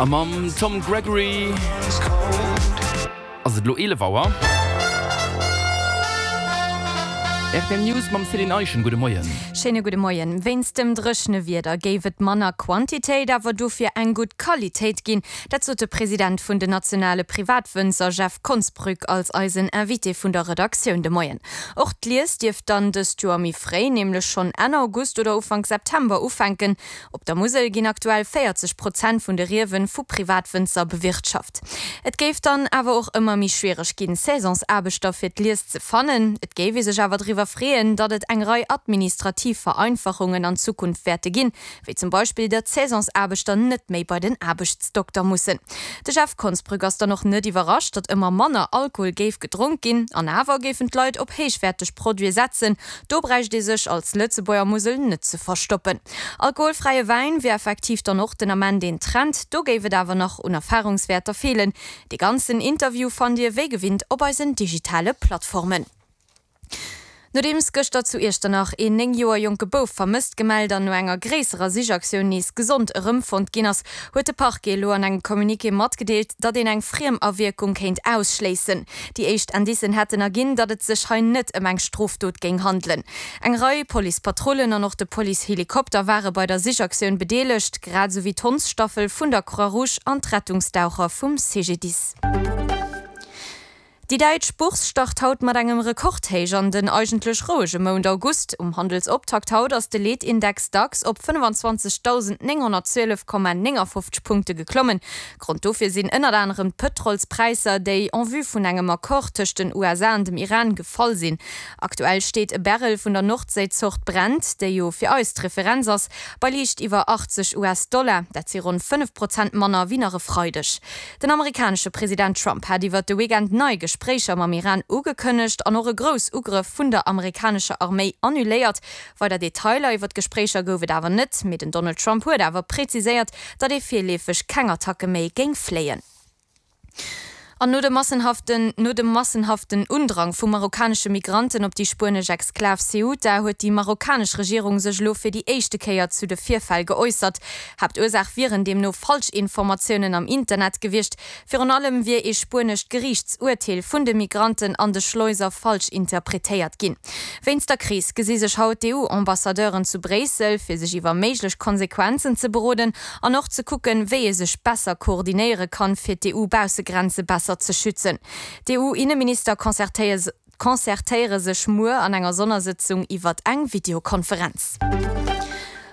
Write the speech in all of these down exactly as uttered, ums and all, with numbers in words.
A mam Tom Gregory ass et elo eelef Auer. Rtl News mam Céline Eischen. Gudde Moien. Schéine gudde Moien. Wéinst dem dréchene Wieder géif et manner Quantitéit, awer dofir eng gutt Qualitéit ginn. Dat sot de President vun den nationale Privatwënzer Jeff Konsbrück als eisen Invité vun der Redaktioun de Moien. Och d'Lies dierft dann dëst Joer méi fréi, nämlech schonn Enn August oder Ufank September ufänken. Op der Musel ginn aktuell véierzeg Prozent vun de Riewe vu Privatwënzer bewirtschaft. Et géif dann awer och ëmmer méi schwiereg ginn, Saisonsaarbechter fir d'Lies ze fannen. Et géif ee sech awer driwwer freeën, datt et eng Rei administrativ Vereinfachungen an Zukunft wäerte ginn, wéi zum Beispill, datt d'Saisonsaarbechter net méi bei den Aarbechtsdokter mussen. De Jeff Konsbrück ass dann och net iwwerrascht, datt ëmmer manner Alkohol géif gedronk ginn. An awer géifen d'Leit op héichwäerteg Produite setzen. Do bräicht ee sech als Lëtzebuerger Musel net ze verstoppen. Alkoholfräie Wäin wier effektiv dann och den Ament een Trend, do géif et awer nach un Erfarungswäerter feelen. Dee ganzen Interview fannt Dir wéi gewinnt op eisen digitale Plattformen. Nodeems gëschter zu Iechternach een néng Joer jonke Bouf vermësst gemellt an no enger gréisserer Sichaktioun nees gesond erëmfonnt ginn ass, huet de Parquet elo an engem Communiqué matgedeelt, datt een eng Friemawierkung kéint ausschléissen. Déi éischt Indicen hätten erginn, datt et sech hei net ëm eng Strofdot géing handelen. Eng Rei Policepatrullen an och de Policehelikopter ware bei der Sichaktioun bedeelegt, grad esou wéi d'Hondsstaffel vun der Croix-Rouge an d'Rettungsdaucher vum C G D I S. Déi däitsch Bourse start haut mat engem Rekordhéich an den eigentlech rouege Mount August. Um Handelsoptakt haut ass de Leetindex DAX op fënnefanzwanzegdausendnénghonnertzwielef Komma néngafofzeg Punkte geklommen. Grond dofir sinn ënnert anerem d'Pëtrolspräisser, déi en vue vun engem Accord tëscht den U S A an dem Iran gefall sinn. Aktuell steet e Barrel vun der Nordséizort Brent, déi jo fir eis d'Referenz ass, bei liicht iwwer achtzeg U S-Dollar. Dat si ronn fënnef Prozent manner wéi nach e Freideg. Den amerikanesche President Trump hat iwwert de Weekend nei Gespréicher mam Iran ugekënnegt an och e Groussugrëff vun der amerikanescher Arméi annuléiert. Weider Detailer iwwer d'Gespréicher gouf et awer net, mee den Donald Trump huet awer präziséiert, datt ee virleefeg keng Attacke méi géing fléien. An no de massenhaften no dem massenhaften Undrang vu marokkanesche Migranten op déi spuenesch Exklav Ceuta huet déi marokkanesch Regierung sech elo fir déi éischte Kéier zu de Virfäll geäussert. Haaptursaach wieren deemno Falschinformatiounen am Internet gewiescht. Virun allem wier ee spuenescht Geriichtsurteel vun de Migranten an de Schleuser falsch interpretéiert ginn. Wéinst der Kris gesi sech haut d'E U-Ambassadeuren zu Bréissel, fir sech iwwer méiglech Konsequenzen ze beroden an och ze kucken, wéi ee sech besser koordinéiere kann, fir d'E U-Baussegrenze besser ze schützen. D'E U-Inneminister concertéiere sech muer an enger Sonnersëtzung iwwert eng Videokonferenz.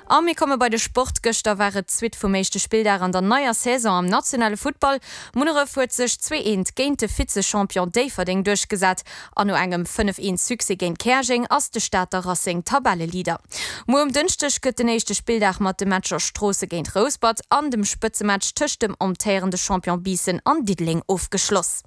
A mir komme bei de Sport. Gëschter war et d'Suite vum éischte Spilldag an der neier Saison am nationale Futtball. Munneref huet sech zwee eent géint de Vize-Champion Déifferdeng duerchgesat an no engem fënnef eent Succès géint Käerjeng ass de Stater Racing Tabelleleader. Muer um Dënschdeg gëtt den éischte Spilldag mat de Matcher Stroosse géint Rouspert an dem Spëtzematch tëscht dem amtéierende Champion Biissen an Diddeleng ofgeschloss.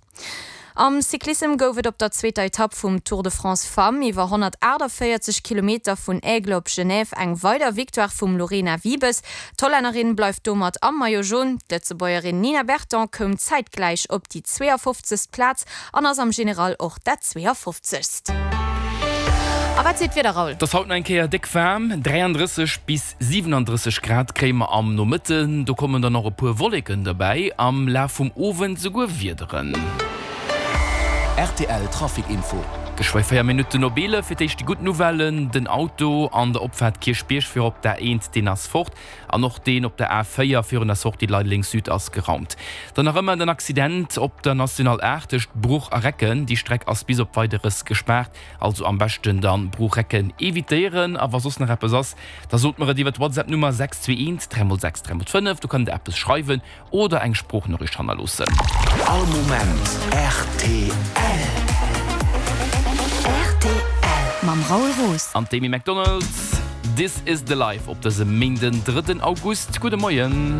Am Cyclissem gouf et op der zweeter Etapp vum Tour de France Femmes iwwer honnertaachtavéierzeg Kilometer vun Aigle op Genève eng weider Victoire vum Lorena Wiebes. D'Hollännerin bleift domat am Maillot Jaune. D'Lëtzebuergerin Nina Berton koum zäitgläich op déi zweeafofzegst Plaz an ass am General och dat zweeafofzegst. A wat seet d'Wieder, Raoul? Et ass haut nach eng Kéier déck waarm, dräiandrësseg bis siwenandrësseg Grad kréie mer am Nomëtten. Do kommen dann och e puer Wolleken derbäi, am Laf vum Owend souguer Wiederen. R T L Trafic Info. Geschwë véier Minutten op eelef. Fir d'éischt déi gutt Nouvellen, Den Auto an der Opfaart Kierchbierg fir op d'A eent, deen ass fort. An och deen op der A véier virun der Sortie Leideleng Süd ass geraumt. Dann nach ëmmer den Accident op der National aacht tëscht Bruch a Recken. Déi Streck ass bis op Weideres gespaart. Also am beschten dann Bruch-Recken evitéieren. A wa soss nach eppes ass, da sot mer et iwwer d'WhatsApp Nummer sechs zwee eent dräi mol sechs dräi mol fënnef. Do kënnt der eppes schreiwen oder eng Sproochnoriicht hannerloossen. All Moment rtl. Rtl mam Raoul Roos. An d'Amy Macdonald, This is the Life op dësem Méinden, drëtten August. Gudde Moien.